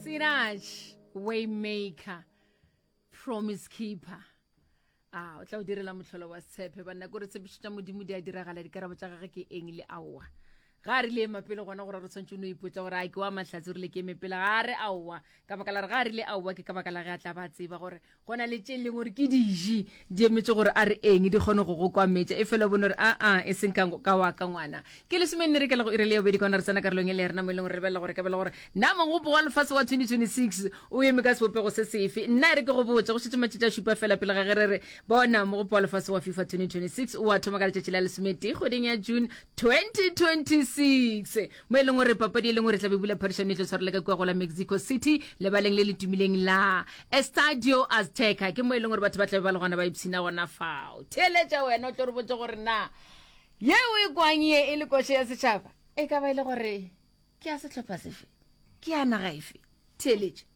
Sinach Waymaker Promise Keeper a o tla o direla mohlolo wa setshepe banna ko re tshepišo tša modimo di a diragala dikarabo tša gage ke eng le aowa ga a rile ema pele gona gore re tshwanetse o no ipotsa gore a ke wa mahlatse o rile ke eme pele ga a re aowa ka baka la re ga a rile aowa ke ka baka la ge a tla ba tseba gore go na le tše leng gore ke diji di emetše gore a re eng di kgone go go kwametša e fela bone gore aa e seng ka wa ka ngwana ke lesomenne re ke la go ire le ya bobedi kwana re tsena karolong e le ya rena mo e leng gore re lebelela gore ka bela gore na mogopo wa lefase wa 2026 o eme ka sebopego se sefe nna e re ke go botse go šetše matšatši a šupa fela pele ga ge re re bona mogopo wa lefase wa fifa 2026 o a thoma ka letšatši la lesometee kgweding ya june 2026 mo e leng gore papadi e leng gore tla be bula phadišano e tlo tshwarela ka kua go la mexico city lebaleng le le tumileng la Estadio Azteca. Ke mo e leng gore batho ba tlabe ba le gona ba ipshina gona fao. Theeletša wena o tlo re botse gore na ye o e kwang ye e le koše ya setšhaba e ka ba e le gore ke ya sehlopha sefe, ke ya naga efe. Theeletša.